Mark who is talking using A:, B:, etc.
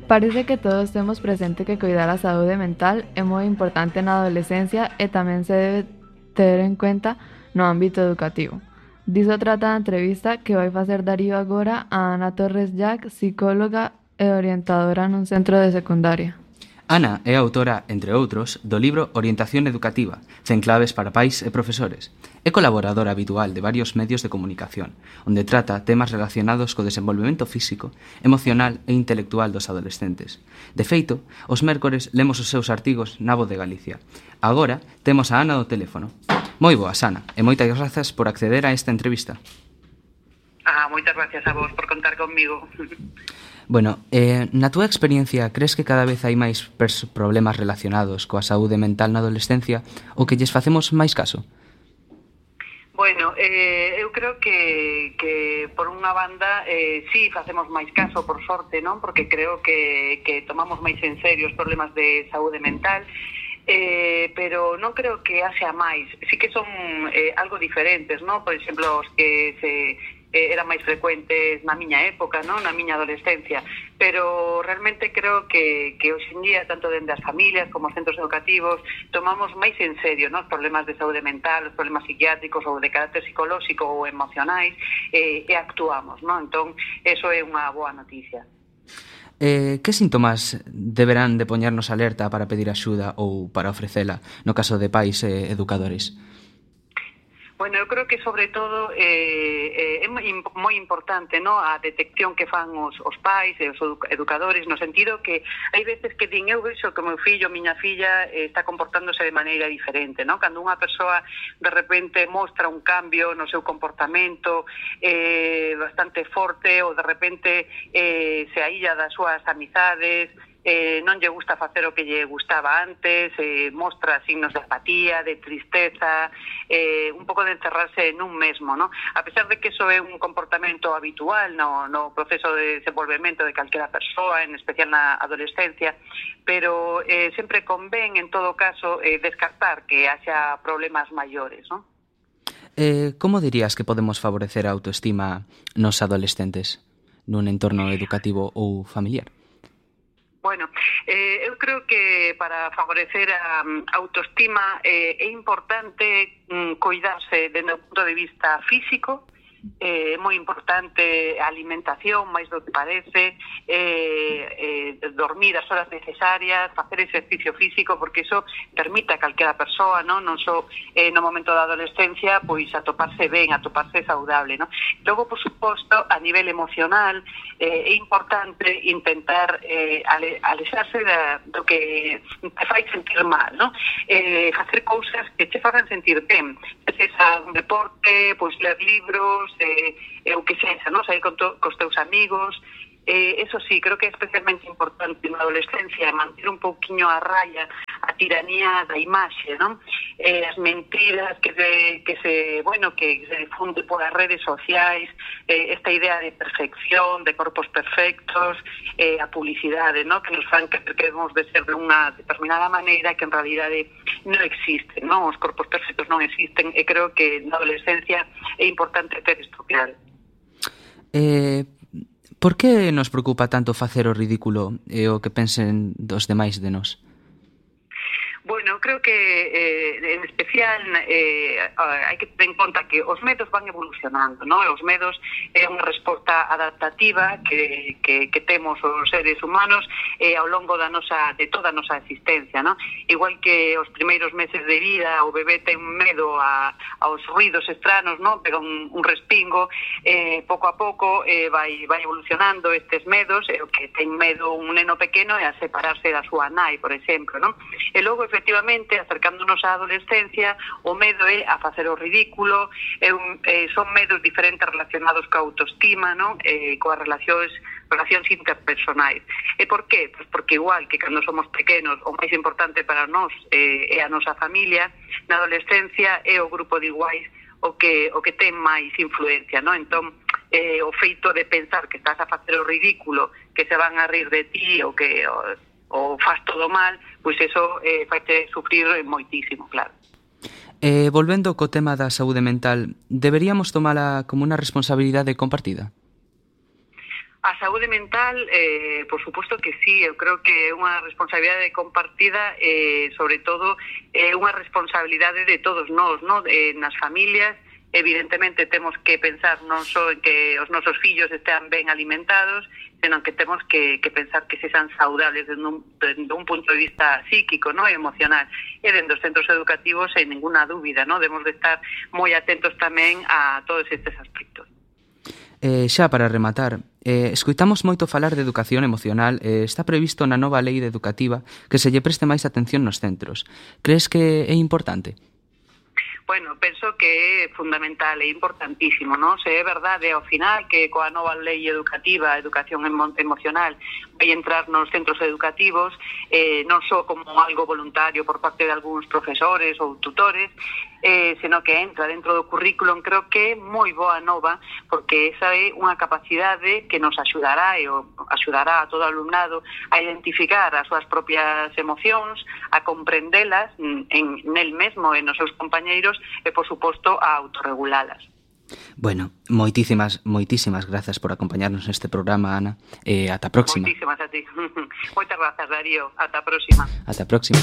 A: Parece que todos temos presente que cuidar a saúde mental é moi importante na adolescencia e tamén se debe ter en cuenta no ámbito educativo. Diso trata a entrevista que vai facer Darío agora a Ana Torres Jack, psicóloga e orientadora nun centro de secundaria.
B: Ana é autora, entre outros, do libro Orientación Educativa, 100 claves para pais e profesores. É colaboradora habitual de varios medios de comunicación, onde trata temas relacionados co desenvolvemento físico, emocional e intelectual dos adolescentes. De feito, os mércores lemos os seus artigos na Voz de Galicia. Agora temos a Ana do teléfono. Moi boas, Ana, e moitas grazas por acceder a esta entrevista.
C: Moitas gracias a vos por contar conmigo.
B: Bueno, na túa experiencia, crees que cada vez hai máis problemas relacionados coa saúde mental na adolescencia ou que lles facemos máis caso?
C: Bueno, eu creo que por unha banda sí facemos máis caso, por sorte, non? Porque creo que tomamos máis en serio os problemas de saúde mental, pero non creo que haxa máis. Sí que son algo diferentes, non? Por exemplo, os que eran máis frecuentes na miña época, non? Na miña adolescencia, pero realmente creo que hoxe en día, tanto dende as familias como os centros educativos, tomamos máis en serio, non? Os problemas de saúde mental, os problemas psiquiátricos ou de carácter psicolóxico ou emocionais, e actuamos, non? Entón, eso é unha boa noticia.
B: Que síntomas deberán de poñernos alerta para pedir axuda ou para ofrecela, no caso de pais e educadores?
C: Bueno, eu creo que sobre todo é moi importante, no, a detección que fan os pais e os educadores, no sentido que hai veces que din, eu vexo que o meu fillo, miña filla está comportándose de maneira diferente, no? Cando unha persoa de repente mostra un cambio no seu comportamento bastante forte ou de repente se aílla das súas amizades, non lle gusta facer o que lle gustaba antes, mostra signos de apatía, de tristeza, un pouco de encerrarse nun mesmo, ¿no? A pesar de que eso é un comportamento habitual no proceso de desenvolvemento de calquera persoa, en especial na adolescencia, pero sempre convén, en todo caso, descartar que haxa problemas maiores, ¿no?
B: Como dirías que podemos favorecer a autoestima nos adolescentes nun entorno educativo ou familiar?
C: Bueno, eu creo que para favorecer a autoestima é importante cuidarse desde o punto de vista físico, é moi importante a alimentación, máis do que parece, dormir as horas necesarias, facer exercicio físico, porque iso permite a calquera persoa, non só no momento da adolescencia, pois atoparse ben, atoparse saudable, non? Logo, por suposto, a nivel emocional, é importante intentar alexarse do que te fai sentir mal, non? Facer cousas que te fagan sentir ben, sexa un deporte, pois ler libros, o que sexa, non? Sair cos teus amigos. Eso sí, creo que é especialmente importante na adolescencia manter un pouquiño a raya a tiranía da imaxe, non? As mentiras que se difunde por as redes sociais, esta idea de perfección, de corpos perfectos, a publicidade, non? Que nos fan que debemos de ser de unha determinada maneira que en realidade non existen, non? Os corpos perfectos non existen e creo que na adolescencia é importante ter isto claro.
B: Por que nos preocupa tanto facer o ridículo e o que pensen dos demais de nós?
C: Bueno, creo que en especial hai que ter en conta que os medos van evolucionando, non? Os medos é unha resposta adaptativa que temos os seres humanos ao longo de toda a nosa existencia, non? Igual que os primeiros meses de vida o bebé ten medo aos ruidos estranos, non? Pero un respingo, pouco a pouco vai evolucionando estes medos, e o que ten medo un neno pequeno é a separarse da súa nai, por exemplo, non? E logo, efectivamente, acercándonos á adolescencia, o medo é a facer o ridículo, son medos diferentes relacionados coa autoestima, non? Coas relacións interpersonais. E por qué? Pois porque igual que cando somos pequenos o máis importante para nós é a nosa familia, na adolescencia é o grupo de iguais o que ten máis influencia, non? Entón, o feito de pensar que estás a facer o ridículo, que se van a rir de ti ou que ou faz todo mal, pois eso faite sufrir moitísimo, claro.
B: Volvendo co tema da saúde mental, deberíamos tomala como unha responsabilidade compartida?
C: A saúde mental, por suposto que sí, eu creo que é unha responsabilidade compartida, sobre todo é unha responsabilidade de todos nós, no? Nas familias, evidentemente temos que pensar non só en que os nosos fillos estean ben alimentados, senón que temos que pensar que se sean saudables dende un punto de vista psíquico, no? E emocional. E dentro dos centros educativos, sen ninguna dúbida, no? Debemos de estar moi atentos tamén a todos estes aspectos.
B: Xa para rematar, escoitamos moito falar de educación emocional e está previsto na nova lei educativa que se lle preste máis atención nos centros. Crees que é importante?
C: Bueno, penso que é fundamental e importantísimo, non? Se é verdade ao final que coa nova lei educativa, a educación emocional, vai entrar nos centros educativos, non só como algo voluntario por parte de algúns profesores ou tutores, senón que entra dentro do currículum. Creo que é moi boa nova, porque esa é unha capacidade que nos axudará e axudará a todo o alumnado a identificar as súas propias emocións, a comprendelas nel mesmo e nos seus compañeiros e, por suposto, a autorregulalas.
B: Bueno, moitísimas grazas por acompañarnos neste programa, Ana, e ata a próxima.
C: Moitísimas a ti. Moitas grazas, Darío. Ata a próxima.
B: Ata a próxima.